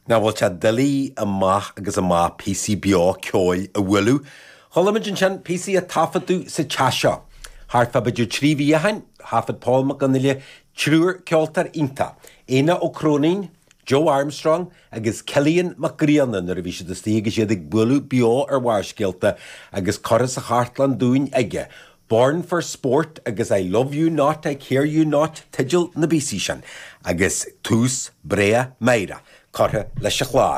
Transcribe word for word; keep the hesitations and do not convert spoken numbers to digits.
Nach bhfuil sé doiligh amach agus amach píosaí beo ceoil a bhualadh. Chuala muid ansin píosaí a taifeadadh sa teach seo. Thart fá b'fhéidir trí mhí ó shin, thaifead Paul Mac Fhionnghaile triúr ceoltóir iontach. Éanna Ó Cróinín, Joe Armstrong agus Cillian Mac Grianna nuair a bhí siad istigh agus iad ag bualadh beo ar Bharrscéalta agus curtha sa chartlann dúinn aige. Born for Sport agus I Love You Not, I Care You Not teideal na bpíosaí sin, agus tús breá meidhreach curtha leis an chlár.